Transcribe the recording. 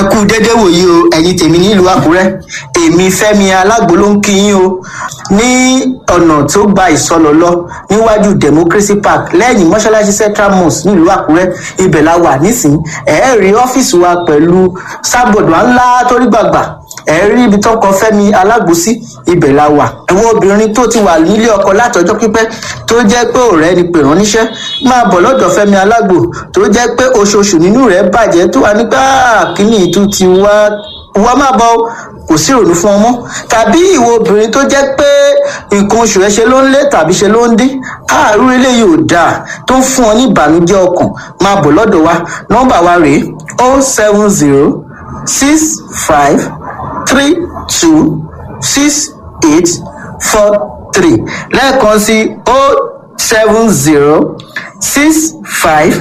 Ẹ kú dédé wòyí o, ẹ̀yin tèmi nílùú Àkúrẹ́. Èmi Fẹ́mi Alágbo ló ń kí yín o. Ní ọ̀nà tó gba Ìsọlọ lọ, níwájú Democracy Park, lẹ́yìn mọ́ṣáláṣí Central Mosque nílùú Àkúrẹ́, ibẹ̀ la wà nísìnyí. Ẹ rí ọ́fíìsì wa pẹ̀lú sábọ̀dù ńlá torí gbàgbà. Ẹ rí ibi tó kọ Fẹ́mi Alágbo sí, ibẹ̀ la wà. Ẹ̀wọ̀n obìnrin tó ti wà nílé ọkọ látọjọ́ pípẹ́, tó jẹ́ pé ọ̀rẹ́ ni pè rán níṣẹ́, máa bọ̀ lọ́dọ̀ Fẹ́mi Alágbo. Tó jẹ́ pé oṣooṣù nínú rẹ̀ bàjẹ́, tó wà nígbà kíní ìtú ti wá wá, máa bọ̀ o, kò sí ìrònú fún ọmọ. Tàbí ìwọ obìnrin tó jẹ́ pé nǹkan oṣù rẹ̀ ṣe ló ń lé tàbí ṣe ló ń dín, àárú eléyìí ò dáa, tó ń fún ọ ní ìbànújẹ́ ọkàn, máa bọ̀ lọ́dọ̀ wa. Nọ́mbà wa rèé: 07065326843. Lẹ́ẹ̀kan sí: 07065.